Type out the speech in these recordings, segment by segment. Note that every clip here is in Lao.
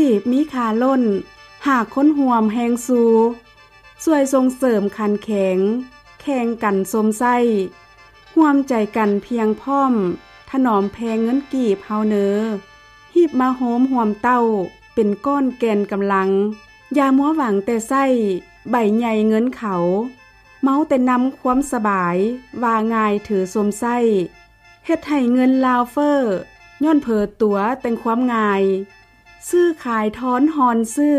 ຊີບມີຄ່າລົ້ນ ຫາກຄົນຮ່ວມແຮງຊູ່ ຊ່ວຍສົ່ງເສີມຂັນແຂງ ແຂ່ງກັນຊົມໃຊ້ ຮ່ວມໃຈກັນພຽງພ້ອມ ຖະໜອມແພເງິນກີບເຮົາເນີ ຮີບມາໂຮມຮ່ວມເຕົ້າ ເປັນກ້ອນແກ່ນກຳລັງ ຢ່າມົວຫວັງແຕ່ໃຊ້ ໃບໃຫຍ່ເງິນເຂົາ ເມົາແຕ່ນຳຄວາມສະບາຍ ວ່າງ່າຍຖືຊົມໃຊ້ ເຮັດໃຫ້ເງິນລາວເຟີ້ ຍ້ອນເຜີຕົວແຕ່ງຄວາມງ່າຍ ຊື້ຂາຍທອນຮ່ອນຊື້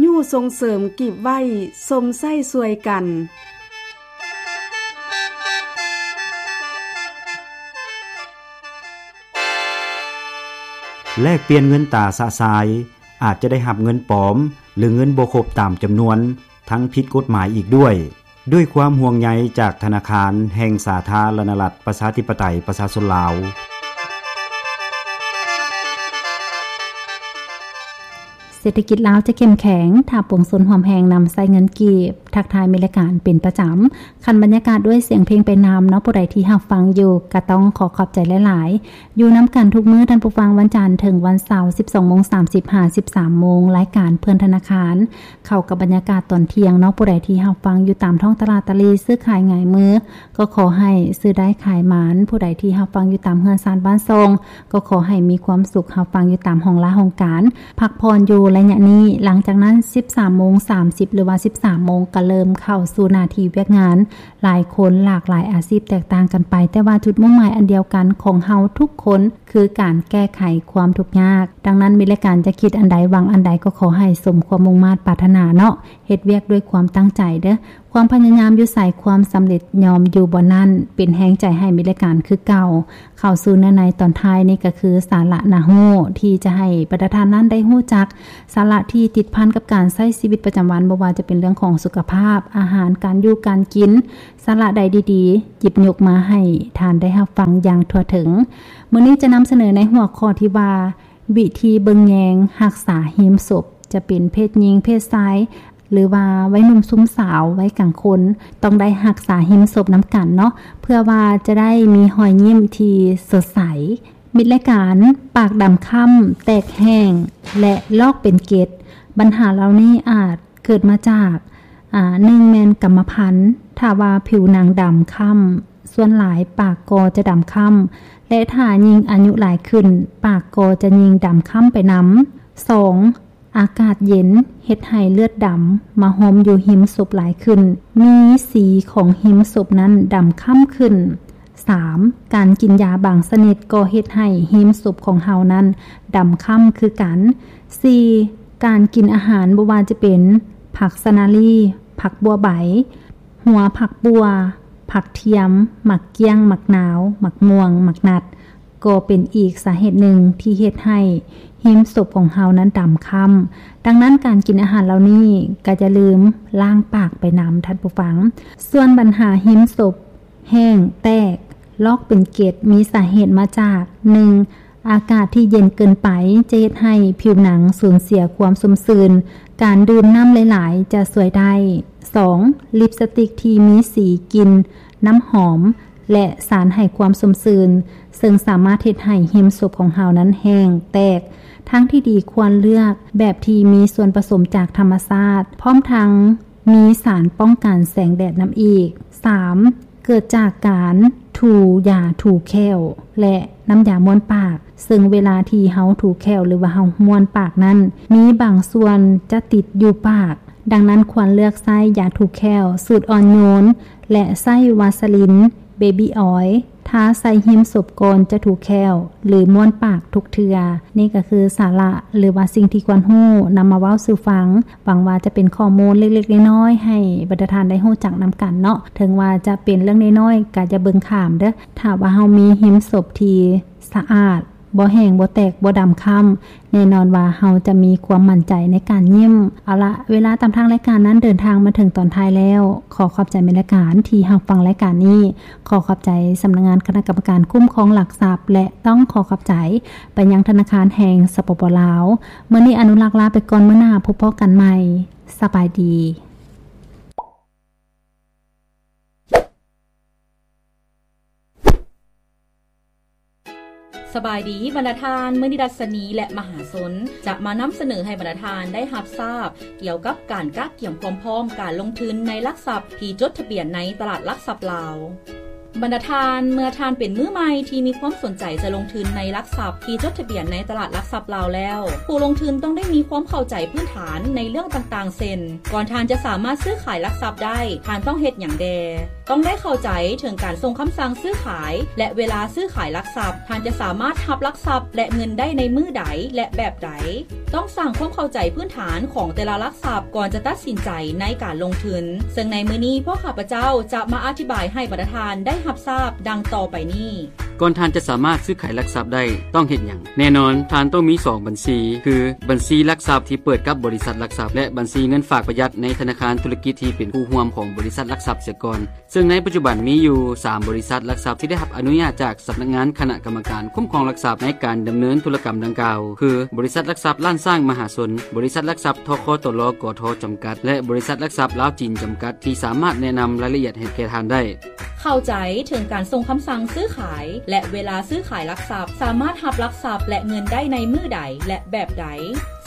ຍູ້ສົ່ງເສີມກີບໄວ້ ຊົມໃຊ້ຊ່ວຍກັນ. ແລກປ່ຽນເງິນຕາຊະຊາຍ ອາດຈະໄດ້ຮັບເງິນປອມ ຫຼື ເງິນບໍ່ຄົບຕາມຈຳນວນ ທັງຜິດກົດໝາຍອີກດ້ວຍ. ດ້ວຍຄວາມຫ່ວງໃຍຈາກທະນາຄານແຫ່ງສາທາລະນະລັດ ປະຊາທິປະໄຕ ປະຊາຊົນລາວ. ເສດຖະກິດລາວຈະເຂັ້ມແຂງ ຖ້າປວງຊົນຮ່ວມແຮງນຳໃຊ້ເງິນກີບ. ທັກທາຍມິດລາຍການເປັນປະຈຳ. ຄັນບັນຍາກາດດ້ວຍສຽງເພງໄປນຳເນາະ, ຜູ້ໃດທີ່ຮັບຟັງຢູ່ ກະຕ້ອງຂໍຂອບໃຈຫຼາຍໆ. ຢູ່ນຳກັນທຸກມື້, ທ່ານຜູ້ຟັງ, ວັນຈັນເຖິງວັນເສົາ ສິບສອງໂມງສາມສິບ ຫາ ສິບສາມໂມງ, ລາຍການເພື່ອນທະນາຄານ ເຂົ້າກັບບັນຍາກາດຕອນທ່ຽງເນາະ. ຜູ້ໃດທີ່ຮັບຟັງຢູ່ຕາມທ້ອງຕະຫຼາດຕະຫຼີ່ ຊື້ຂາຍຫງາຍມື ກໍຂໍໃຫ້ຊື້ໄດ້ຂາຍໝານ. ຜູ້ໃດທີ່ຮັບຟັງຢູ່ຕາມເຮືອນຊານບ້ານຊ່ອງ ກໍຂໍໃຫ້ມີຄວາມສຸກ ຮັບຟັງຢູ່ຕາມຫ້ອງລາຫ້ອງການ ພັກຜ່ອນຢູ່ໄລຍະນີ້. ຫຼັງຈາກນັ້ນ ສິບສາມໂມງສາມສິບ ຫຼືວ່າ ສິບສາມໂມງ ກໍເລີ່ມເຂົ້າສູ່ໜ້າທີ່ວຽກງານ. ຫຼາຍຄົນຫຼາກຫຼາຍອາຊີບແຕກຕ່າງກັນໄປ, ແຕ່ວ່າຈຸດມຸ່ງໝາຍອັນດຽວກັນຂອງເຮົາທຸກຄົນ ຄືການແກ້ໄຂຄວາມທຸກຍາກ. ດັ່ງນັ້ນ ມີລາຍການຈະຄິດອັນໃດ ຫວັງອັນໃດ ກໍຂໍໃຫ້ສົມຄວາມມຸ່ງມາດປາດຖະໜາເນາະ. ເຮັດວຽກດ້ວຍຄວາມຕັ້ງໃຈເດີ້. ຄວາມພະຍາຍາມຢູ່ໃສ ຄວາມສຳເລັດຍ່ອມຢູ່ບ່ອນນັ້ນ. ເປັນແຮງໃຈໃຫ້ມີລາຍການຄືເກົ່າ. ເຂົ້າສູ່ເນື້ອໃນຕອນທ້າຍນີ້ ກໍຄືສາລະໜ້າຮູ້ ທີ່ຈະໃຫ້ບັນດາທ່ານນັ້ນໄດ້ຮູ້ຈັກ ສາລະທີ່ຕິດພັນກັບການໃຊ້ຊີວິດປະຈຳວັນ, ບໍ່ວ່າຈະເປັນເລື່ອງຂອງສຸຂະພາບ, ອາຫານ, ການຢູ່ການກິນ, ສາລະໃດດີໆ ຫຍິບຍົກມາໃຫ້ທ່ານໄດ້ຮັບຟັງຢ່າງທົ່ວເຖິງ. ມື້ນີ້ຈະນຳສະເໜີໃນຫົວຂໍ້ທີ່ວ່າ ວິທີເບິ່ງແຍງຮັກສາຮີມສົບ, ຈະເປັນເພດຍິງ, ເພດຊາຍ ຫຼືວ່າໄວໜຸ່ມຊຸມສາວ, ໄວກາງຄົນ ຕ້ອງໄດ້ຮັກສາຮີມສົບນຳກັນເນາະ, ເພື່ອວ່າຈະໄດ້ມີຮອຍຍິ້ມທີ່ສົດໃສ. ມິດລາຍການ ປາກດຳຄ້ຳ, ແຕກແຫ້ງ ແລະ ລອກເປັນເກັດ. ບັນຫາເຫຼົ່ານີ້ອາດເກີດມາຈາກ ອາ ໜຶ່ງແມ່ນກຳມະພັນ. ຖ້າວ່າຜິວໜັງດຳຄ້ຳ, ສ່ວນຫຼາຍປາກກໍຈະດຳຄ້ຳ ແລະ ຖ້າຍິ່ງອາຍຸຫຼາຍຂຶ້ນ, ປາກກໍຈະຍິ່ງດຳຄ້ຳໄປນຳ. ສອງ ອາກາດເຢັນເຮັດໃຫ້ເລືອດດຳມາໂຮມຢູ່ຮິມສົບຫຼາຍຂຶ້ນ, ມີສີຂອງຮິມສົບນັ້ນດຳຄ້ຳຂຶ້ນ. ສາມ ການກິນຢາບາງຊະນິດກໍເຮັດໃຫ້ຮິມສົບຂອງເຮົານັ້ນດຳຄ້ຳຄືກັນ. ສີ່ ການກິນອາຫານບໍ່ວ່າຈະເປັນຜັກສະນາລີ, ຜັກບົວໃບ, ຫົວຜັກບົ່ວ, ຜັກທຽມ, ໝາກກ້ຽງ, ໝາກນາວ, ໝາກມ່ວງ, ໝາກນັດ ກໍເປັນອີກສາເຫດໜຶ່ງທີ່ເຮັດໃຫ້ຮິມສົບຂອງເຮົານັ້ນດຳຄ້ຳ. ດັ່ງນັ້ນ ການກິນອາຫານເຫຼົ່ານີ້ກໍຢ່າລືມລ້າງປາກໄປນຳ, ທ່ານຜູ້ຟັງ. ສ່ວນບັນຫາຮິມສົບແຫ້ງ, ແຕກ, ລອກເປັນເກັດ ມີສາເຫດມາຈາກ ໜຶ່ງ ອາກາດທີ່ເຢັນເກີນໄປຈະເຮັດໃຫ້ຜິວໜັງສູນເສຍຄວາມຊຸ່ມຊື່ນ, ການດື່ມນ້ຳຫຼາຍໆຈະຊ່ວຍໄດ້. ສອງ ລິບສະຕິກທີ່ມີສີກິ່ນນ້ຳຫອມ ແລະ ສານໃຫ້ຄວາມຊຸ່ມຊື່ນ, ເຊິ່ງສາມາດເຮັດໃຫ້ຮິມສົບຂອງເຮົານັ້ນແຫ້ງ, ແຕກ. ທາງທີ່ດີຄວນເລືອກແບບທີ່ມີສ່ວນປະສົມຈາກທຳມະຊາດ, ພ້ອມທັງມີສານປ້ອງກັນແສງແດດນຳອີກ. ສາມ ເກີດຈາກການຖູຢາຖູແຂ້ວ ແລະ ນ້ຳຢາມ້ວນປາກ, ເຊິ່ງເວລາທີ່ເຮົາຖູແຂ້ວ ຫຼືວ່າເຮົາມ້ວນປາກນັ້ນ ມີບາງສ່ວນຈະຕິດຢູ່ປາກ. ດັ່ງນັ້ນ ຄວນເລືອກໃຊ້ຢາຖູແຂ້ວສູດອ່ອນໂຍນ ແລະ ໃຊ້ວາສະລິນເບບີ້ອອຍ ທາໃສ່ຮິມສົບກ່ອນຈະຖູແຂ້ວ ຫຼື ມ້ວນປາກທຸກເທື່ອ. ນີ້ກໍຄືສາລະ ຫຼືວ່າສິ່ງທີ່ຄວນຮູ້ນຳມາເວົ້າສູ່ຟັງ. ຫວັງວ່າຈະເປັນຂໍ້ມູນເລັກໆນ້ອຍໆ ໃຫ້ບັນດາທ່ານໄດ້ຮູ້ຈັກນຳກັນເນາະ. ເຖິງວ່າຈະເປັນເລື່ອງນ້ອຍໆ ກໍຢ່າເບິ່ງຂ້າມເດີ້. ຖ້າວ່າເຮົາມີຮິມສົບທີ່ສະອາດ, ບໍ່ແຫ້ງ, ບໍ່ແຕກ, ບໍ່ດຳຄ້ຳ, ແນ່ນອນວ່າເຮົາຈະມີຄວາມໝັ້ນໃຈໃນການຍິ້ມ. ເອົາລະ, ເວລາຕາມທາງລາຍການນັ້ນເດີນທາງມາເຖິງຕອນທ້າຍແລ້ວ. ຂໍຂອບໃຈແມ່ນລາຍການທີ່ຮັບຟັງລາຍການນີ້. ຂໍຂອບໃຈສຳນັກງານຄະນະກຳມະການຄຸ້ມຄອງຫຼັກຊັບ ແລະ ຕ້ອງຂໍຂອບໃຈໄປຍັງທະນາຄານແຫ່ງ ສປປ ລາວ. ມື້ນີ້ອະນຸລັກລາໄປກ່ອນ, ມື້ໜ້າພົບພໍ້ກັນໃໝ່. ສະບາຍດີ. ສະບາຍດີບັນດາທ່ານ, ມື້ນີ້ດັດຊະນີ ແລະ ມະຫາຊົນ ຈະມານຳສະເໜີໃຫ້ບັນດາທ່ານໄດ້ຮັບຊາບ ກ່ຽວກັບການກະກຽມຄວາມພ້ອມການລົງທຶນໃນຫຼັກຊັບທີ່ຈົດທະບຽນໃນຕະຫຼາດຫຼັກຊັບລາວ. ບັນດາທ່ານ, ເມື່ອທ່ານເປັນມືໃໝ່ທີ່ມີຄວາມສົນໃຈຈະລົງທຶນໃນຫຼັກຊັບທີ່ຈົດທະບຽນໃນຕະຫຼາດຫຼັກຊັບລາວແລ້ວ, ຜູ້ລົງທຶນຕ້ອງໄດ້ມີຄວາມເຂົ້າໃຈພື້ນຖານໃນເລື່ອງຕ່າງໆ ເຊັ່ນ ກ່ອນທ່ານຈະສາມາດຊື້ຂາຍຫຼັກຊັບໄດ້, ທ່ານຕ້ອງເຮັດຫຍັງແດ່? ຕ້ອງໄດ້ເຂົ້າໃຈເຖິງການສົ່ງຄຳສັ່ງຊື້ຂາຍ ແລະ ເວລາຊື້ຂາຍຫຼັກຊັບ. ທ່ານຈະສາມາດຮັບຫຼັກຊັບ ແລະ ເງິນໄດ້ໃນມື້ໃດ ແລະ ແບບໃດ? ຕ້ອງສ້າງຄວາມເຂົ້າໃຈພື້ນຖານຂອງແຕ່ລະຫຼັກຊັບກ່ອນຈະຕັດສິນໃຈໃນການລົງທຶນ, ເຊິ່ງໃນມື້ນີ້ພວກຂ້າພະເຈົ້າຈະມາອະທິບາຍໃຫ້ບັນດາທ່ານໄດ້ຮັບຊາບດັ່ງຕໍ່ໄປນີ້. ກ່ອນທ່ານຈະສາມາດຊື້ຂາຍຫຼັກຊັບໄດ້, ຕ້ອງເຮັດຫຍັງ? ແນ່ນອນ, ທ່ານຕ້ອງມີສອງບັນຊີ, ຄື ບັນຊີຫຼັກຊັບທີ່ເປີດກັບບໍລິສັດຫຼັກຊັບ ແລະ ບັນຊີເງິນຝາກປະຢັດໃນທະນາຄານທຸລະກິດທີ່ເປັນຄູ່ຮ່ວມຂອງບໍລິສັດຫຼັກຊັບເສຍກ່ອນ. ເຊິ່ງໃນປັດຈຸບັນມີຢູ່ສາມບໍລິສັດຫຼັກຊັບທີ່ໄດ້ຮັບອະນຸຍາດຈາກສຳນັກງານຄະນະກຳມະການຄຸ້ມຄອງຫຼັກຊັບໃນການດຳເນີນທຸລະກຳດັ່ງກ່າວ ຄື ບໍລິສັດຫຼັກຊັບລ້ານຊ້າງມະຫາຊົນ, ບໍລິສັດຫຼັກຊັບ ທຄຕລ ກທ ຈຳກັດ ແລະ ບໍລິສັດຫຼັກຊັບລາວຈີນຈຳກັດ ທີ່ສາມາດແນະນຳລາຍລະອຽດໃຫ້ແກ່ທ່ານໄດ້. ເຂົ້າໃຈເຖິງການສົ່ງຄຳສັ່ງຊື້ຂາຍ ແລະ ເວລາຊື້ຂາຍຫຼັກຊັບ, ສາມາດຮັບຫຼັກຊັບ ແລະ ເງິນໄດ້ໃນມື້ໃດ ແລະ ແບບໃດ?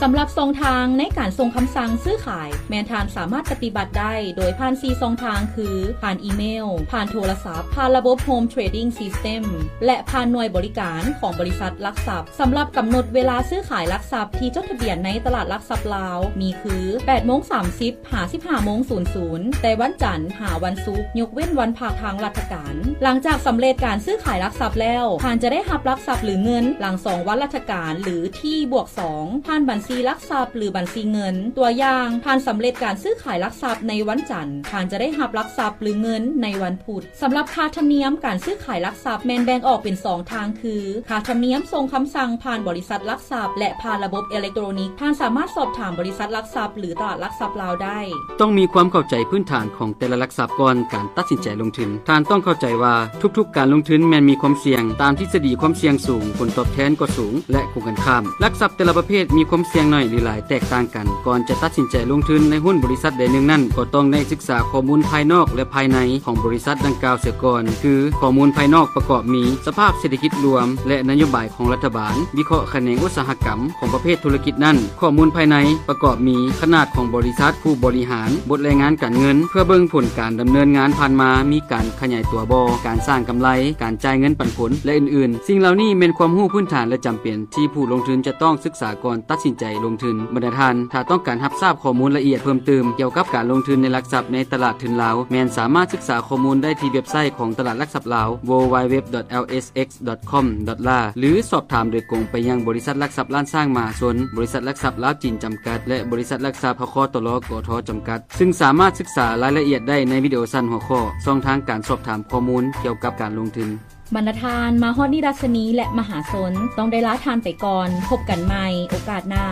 ສຳລັບຊ່ອງທາງໃນການສົ່ງຄຳສັ່ງຊື້ຂາຍ ແມ່ນທ່ານສາມາດປະຕິບັດໄດ້ໂດຍຜ່ານສີ່ຊ່ອງທາງ ຄື ຜ່ານອີເມວ, ຜ່ານໂທລະສັບ, ຜ່ານລະບົບ Home Trading System ແລະ ຜ່ານໜ່ວຍບໍລິການຂອງບໍລິສັດຫຼັກຊັບ. ສຳລັບກຳນົດເວລາຊື້ຂາຍຫຼັກຊັບທີ່ຈົດທະບຽນໃນຕະຫຼາດຫຼັກຊັບລາວ ມີຄື ແປດໂມງສາມສິບ ຫາ ສິບຫ້າໂມງສູນສູນ ແຕ່ວັນຈັນຫາວັນສຸກ, ຍົກເວັ້ນວັນພັກທາງລັດຖະການ. ຫຼັງຈາກສຳເລັດການຊື້ຂາຍຫຼັກຊັບແລ້ວ, ທ່ານຈະໄດ້ຮັບຫຼັກຊັບ ຫຼື ເງິນຫຼັງສອງວັນລັດຖະການ ຫຼື ທີ ບວກ ສອງ ຜ່ານບັນຊີຫຼັກຊັບ ຫຼື ບັນຊີເງິນ. ຕົວຢ່າງ, ທ່ານສຳເລັດການຊື້ຂາຍຫຼັກຊັບໃນວັນຈັນ, ທ່ານຈະໄດ້ຮັບຫຼັກຊັບ ຫຼື ເງິນໃນວັນພຸດ. ສຳລັບຄ່າທຳນຽມການຊື້ຂາຍຫຼັກຊັບແມ່ນແບ່ງອອກເປັນສອງທາງ ຄື ຄ່າທຳນຽມສົ່ງຄຳສັ່ງຜ່ານບໍລິສັດຫຼັກຊັບ ແລະ ຜ່ານລະບົບເອເລັກໂຕຣນິກ. ທ່ານສາມາດສອບຖາມບໍລິສັດຫຼັກຊັບ ຫຼື ຕະຫຼາດຫຼັກຊັບລາວໄດ້. ຕ້ອງມີຄວາມເຂົ້າໃຈພື້ນຖານຂອງແຕ່ລະຫຼັກຊັບກ່ອນການຕັດສິນໃຈລົງທຶນ. ທ່ານຕ້ອງເຂົ້າໃຈວ່າທຸກໆການລົງທຶນແມ່ນມີຄວາມສ່ຽງ. ຕາມທິດສະດີຄວາມສ່ຽງສູງ, ຜົນຕອບແທນກໍສູງ ແລະ ກົງກັນຂ້າມ. ຫຼັກຊັບແຕ່ລະປະເພດມີຄວາມສ່ຽງໜ້ອຍ ຫຼື ຫຼາຍ ແຕກຕ່າງກັນ. ກ່ອນຈະຕັດສິນໃຈລົງທຶນໃນຫຸ້ນບໍລິສັດໃດໜຶ່ງນັ້ນ, ກໍຕ້ອງໄດ້ສຶກສາຂໍ້ມູນພາຍນອກ ແລະ ພາຍໃນຂອງບໍລິສັດດັ່ງກ່າວເສຍກ່ອນ, ຄື ຂໍ້ມູນພາຍນອກປະກອບມີ ສະພາບເສດຖະກິດລວມ ແລະ ນະໂຍບາຍຂອງລັດຖະບານ, ວິເຄາະຂະແໜງອຸດສາຫະກຳຂອງປະເພດທຸລະກິດນັ້ນ. ຂໍ້ມູນພາຍໃນປະກອບມີ ຂະໜາດຂອງບໍລິສັດ, ຜູ້ບໍລິຫານ, ບົດລາຍງານການເງິນ ເພື່ອເບິ່ງຜົນການດຳເນີນງານຜ່ານມາ, ມີການຂະຫຍາຍຕົວບໍ່, ການສ້າງກຳໄລ, ການຈ່າຍເງິນປັນຜົນ ແລະ ອື່ນໆ. ສິ່ງເຫຼົ່ານີ້ແມ່ນຄວາມຮູ້ພື້ນຖານ ແລະ ຈຳເປັນ ທີ່ຜູ້ລົງທຶນຈະຕ້ອງສຶກສາກ່ອນຕັດສິນໃຈລົງທຶນ. ບັນດາທ່ານ, ຖ້າຕ້ອງການຮັບຊາບຂໍ້ມູນລະອຽດເພີ່ມຕື່ມກ່ຽວກັບການລົງທຶນໃນຫຼັກຊັບໃນຕະຫຼາດທຶນລາວ, ແມ່ນສາມາດສຶກສາຂໍ້ມູນໄດ້ທີ່ເວັບໄຊຂອງຕະຫຼາດຫຼັກຊັບລາວ ดับเบิลยู ດັບເບິນຢູ ດັບເບິນຢູ ດັບເບິນຢູ ດັບເບິນຢູ ດອດ ເອສ ເອັກ ດອດ ຄອມ ດອດ ລາ ຫຼື ສອບຖາມໂດຍກົງໄປຍັງບໍລິສັດຫຼັກຊັບລ້ານຊ້າງມະຫາຊົນ, ບໍລິສັດຫຼັກຊັບລາວຈີນຈຳກັດ ແລະ ບໍລິສັດຫຼັກຊັບ ທຄຕລ ກທ ຈຳກັດ, ຊຶ່ງສາມາດສຶກສາລາຍລະອຽດໄດ້ໃນວິດີໂອສັ້ນຫົວຂໍ້ ຊ່ອງທາງການສອບຖາມຂໍ້ມູນກ່ຽວກັບການລົງທຶນ. ບັນດາທ່ານ, ມາຮອດນີ້ ດັດຊະນີ ແລະ ມະຫາຊົນ ຕ້ອງໄດ້ລາທ່ານໄປກ່ອນ. ພົບກັນໃໝ່ໂອກາດໜ້າ.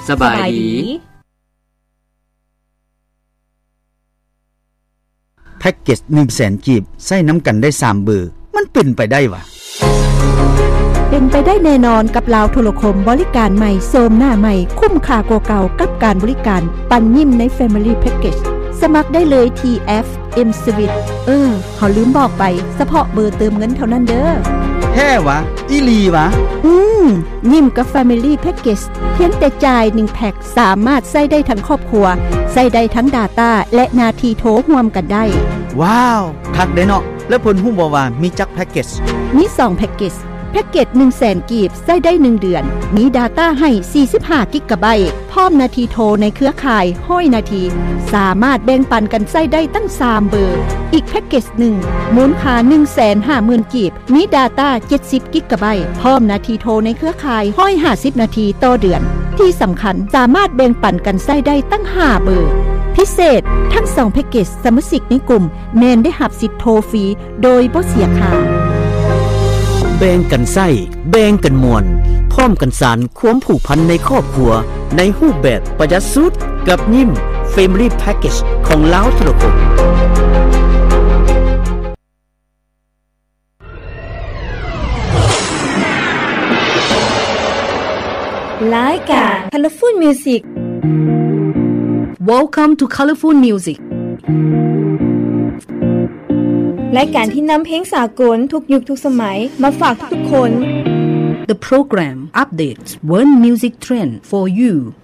ສະບາຍດີ. ແພັກເກັດໜຶ່ງແສນກີບ ໃຊ້ນຳກັນໄດ້ສາມເບີ ມັນເປັນໄປໄດ້ຫວາ? ເປັນໄປໄດ້ແນ່ນອນກັບລາວໂທລະຄົມ ບໍລິການໃໝ່ ໂສມໜ້າໃໝ່ ຄຸ້ມຄ່າກວ່າເກົ່າກັບການບໍລິການ ປັນຍິ້ມໃນ Family Package. ສະໝັກໄດ້ເລີຍທີ່ແອັບ M Suite. ເອີ ເຮົາລືມບອກໄປ, ສະເພາະເບີເຕີມເງິນເທົ່ານັ້ນເດີ້. ແທ້ຫວາ? ອີ່ຫຼີຫວາ? ອືມ, ຍິ້ມກັບ Family Package ພຽງແຕ່ຈ່າຍໜຶ່ງແພັກ ສາມາດໃຊ້ໄດ້ທັງຄອບຄົວ, ໃຊ້ໄດ້ທັງ Data ແລະ ໜ້າທີ່ໂທຮ່ວມກັນໄດ້. ວ້າວ, ຄັກເດ້ເນາະ. ແລ້ວເພິ່ນຮູ້ບໍ່ວ່າມີຈັກແພັກເກັດ? ມີສອງແພັກເກັດ. ແພັກເກັດໜຶ່ງແສນກີບ ໃຊ້ໄດ້ໜຶ່ງເດືອນ, ມີ Data ໃຫ້ສີ່ສິບຫ້າກິກກາໄບ, ພ້ອມໜ້າທີ່ໂທໃນເຄືອຂ່າຍຮ້ອຍນາທີ, ສາມາດແບ່ງປັນກັນໃຊ້ໄດ້ຕັ້ງສາມເບີ. ອີກແພັກເກັດໜຶ່ງ ມູນຄ່າໜຶ່ງແສນຫ້າໝື່ນກີບ, ມີ Data ເຈັດສິບກິກກາໄບ, ພ້ອມໜ້າທີ່ໂທໃນເຄືອຂ່າຍຮ້ອຍຫ້າສິບນາທີຕໍ່ເດືອນ. ທີ່ສຳຄັນ, ສາມາດແບ່ງປັນກັນໃຊ້ໄດ້ຕັ້ງຫ້າເບີ. ພິເສດ, ທັງສອງແພັກເກັດ, ສະມາຊິກໃນກຸ່ມແມ່ນໄດ້ຮັບສິດໂທຟຣີໂດຍບໍ່ເສຍຄ່າ. ແບ່ງກັນໃຊ້, ແບ່ງກັນມ່ວນ, ພ້ອມກັນສານຄວາມຜູກພັນໃນຄອບຄົວ ໃນຮູບແບບປະຢັດສຸດ ກັບຍິ້ມ Family Package ຂອງລາວໂທລະຄົມ. ລາຍການ Colorful Music. Welcome to Colorful Music. ລາຍການທີ່ນຳເພງສາກົນທຸກຍຸກທຸກສະໄໝມາຝາກທຸກໆຄົນ. The program updates World Music Trend for you.